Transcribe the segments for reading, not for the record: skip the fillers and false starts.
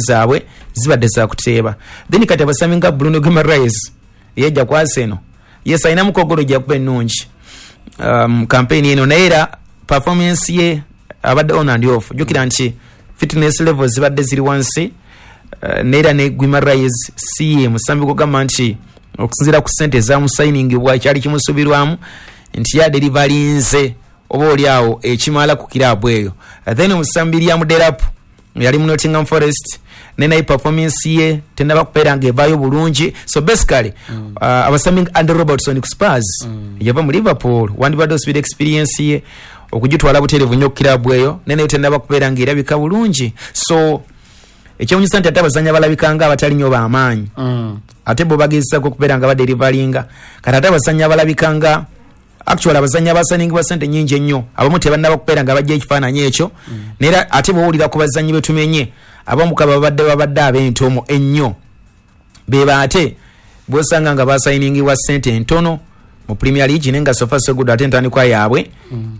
Zaabwe zibadde zakuteeba. Then kati abasambi nga Bruno Guimaraes yejja ku Arsenal, yes, alinamu kogolo gyakuba ennungi campaign eno, naye era performance ye abadde on and off. Jjukira nti fitness levels zibadde ziri wansi, neera ne Guimaraes si ye musambi gugamba nti okusinziira ku ssente ezamusayiningibwa kyali kimusuubirwamu nti yadeliverinze oba oli awo ekimala ku kiraabu eyo. Then omusambi Liam Delap yali mu Nottingham Forest, naye performance ye tenaba kubeera nga evaayo bulungi. So basically abasambi nga Andy Robertson ku Spurs, yava mu Liverpool, wandibadde osubira experience ye okugitwala butereevu nnyo ku kiraabu eyo, naye tenaba kubeera nga erabika bulungi. So ekyewunyisa nti ate abazanyi abalabika nga abatali nnyo b'amaanyi, ate bo bagezesako okubeera nga badeliveringa. Kati ate abazanyi abalabika nga actually abazanyi abasaningibwa sente nyingi ennyo, abamu tebannaba kubeera nga bajja ekifaananyi ekyo. Naye ate bwowulira ku bazanyi betumenye, abamu kaba babadde ab'entomo ennyo, beba ate bwosanga nga basayiningibwa sente entono mu Premier League, naye nga so far so good. Ate entandikwa yaabwe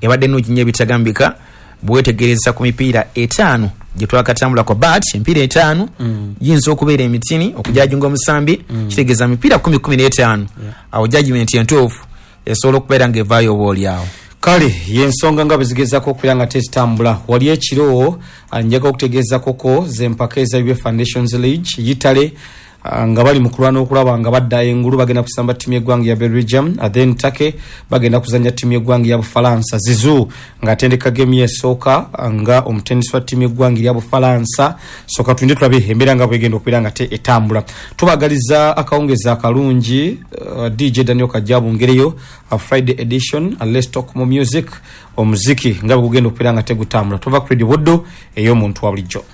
ebadde nnungi nnyo ebitagambika bwetegereza ku mipiira 5 gye twakatambulako. But emipiira 5 giyinza okubeera emitini okujajinga omusambi, kitegeeza mipiira 10, 15, awo judgment entuufu esobola okubeera ng'evaayo oba oli awo. Kale yensonga nga bwezigezako okubeera nga tezitambula. Wali ekiro njaga okutegeezakoko zempaka eza UEFA Nations League. Italy nga bali mu kulwana okulaba nga badda engulu, bagenda kusamba ttiimu y'eggwanga ya Belgium, then Turkey bagenda kuzanya ttiimu y'eggwanga ya Bufalansa. Zizou ng'atendeka gemu esooka nga omutendesi wa ttiimu y'eggwanga erya Bufalansa. So katulinde tulabe embeera nga bwegenda okubeera nga te etambula. Tubagaliza akawungezi akalungi. DJ Daniel Kajabu ngereyo Friday edition, Let's Talk More Music, omuziki nga bwe gugenda okubeera nga tegutambula. Tuva ku Radio Buddu ey'omuntu wa bulijjo.